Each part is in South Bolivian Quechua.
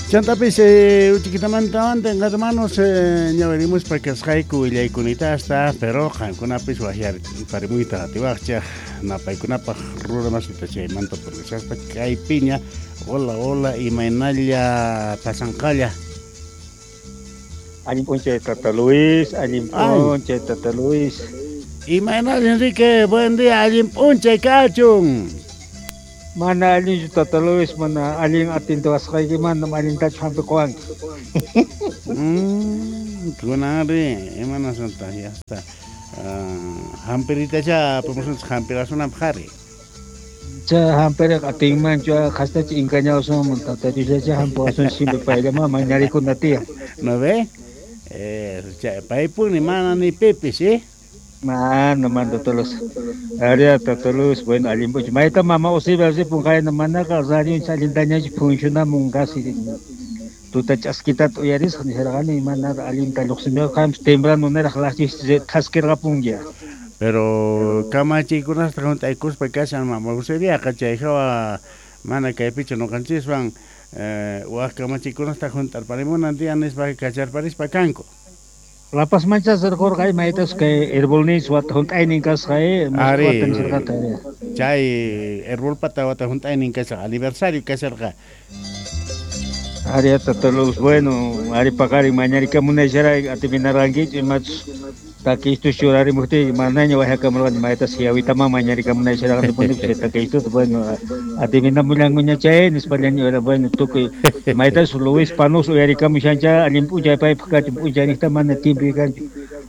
Chantapis uchiquitamantawan hermanos ñawirimuspa kasqayku willaykunitasta, pero qankunapis wajyarimuyta atiwajchej napaykunapaj ruramasita chaymanta purishaspa kaypiña. Hola, hola, imaynalla pasanqalla. Allin p'unchay Tata Luis, allin p'unchay Tata Luis. Imaynalla Enrique, buen día, allin p'unchay kachun. Mana allinchu Tata Luis, mana allin atintuwasqayki manam allintachu hampiquwanki. Kunanri imanasqantaq ya está. Hampiritachá apamusunchik hampirasunanpaq ari. Chay hampiriqa atinmanchu qhastacha engañawasunman Tata Diosllacha hampiwasun simple payllaman mañarikuna tiyan. ¿No ve? Chay paypuni mana ni pipis, ¿eh? Mana, mana Tata Luis. Aria Tata Luis, bueno, allin p'unchay. Mayta mama Eusebia ripun qayna manaqa radionchis allintañachu funcionamun casi tuta ch'askitata uyarisqa nisharqani mana allinta lluqsimuqa qanpis temprano niraq laqchis thaskirqapunki. Pero kamachiykunasta hunt'aykuspa kashan mama Eusebiaqa chay hawa mana kaypichu noqanchiswan wak kamachiykunasta hunt'arparimunan tiyan nispa kacharparispa kanku. La Pazmanchá rirqurqa maytas kay herbolninchis wata hunt'aynin kasqa Ari, chay herbolpata wata hunt'aynin kasqa aniversario kasharqa. Ari Tata Luis, bueno, ari paqarin mañarikamunaycharay atiminarqankichu imachus takistus churarimuqtiyki manaña wajyakamurqani maytas yawitaman mañarikamunaycharaqani chay takistuta, bueno, atiminamullankuña chay nispallaña, bueno, tukuy maytas Luis Panos uyarikamushancha allin p'unchay paypaq kachun p'unchayniqta mana tiempo kanchu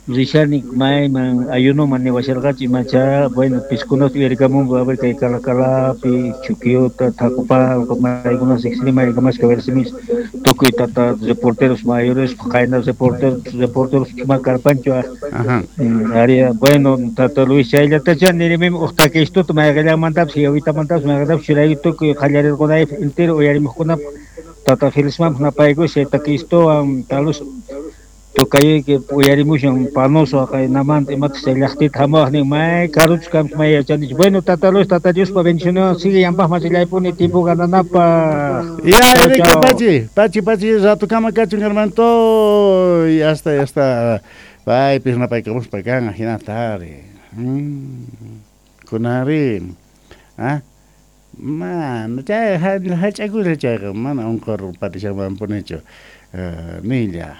rishani mayman ayunoman niwasharqachu imacha, bueno, piskunata uyarikamunku a ver kay Calacalapi, Chuquiota, Tacopalco, maykuna riqsini maykamashka versimis tukuy tata reporteros mayores qayna reporteros ma karpanchu aria, bueno, Tata Luis chayllatacha nirimim uq takistuta mayqillanmantapis yawitamantapis mayqintapis churayku tukuy qallarirqunaypaq entero uyarimuqkunapaq Tata Felismanpaq napaykus chay takistuwan talus tukayuyki uyarimushan panoso qaynamanta imataq chay llaqtita hamuwaq nin may karuchu kanpis may yachanichu. Bueno, Tata Luis, Tata Diospa bendiciones sigue yampaq machillaypuni tiempo gananapaq. Ya, Enrique, pachi, pachi, pachi, ratukama kachun hermanito, ya está, ya está. Paypis napaykamuspa kan jinata ari. Kunanri, ah, mana chay hach'akusha chayqa mana unqurparishanmanpunichu nilla.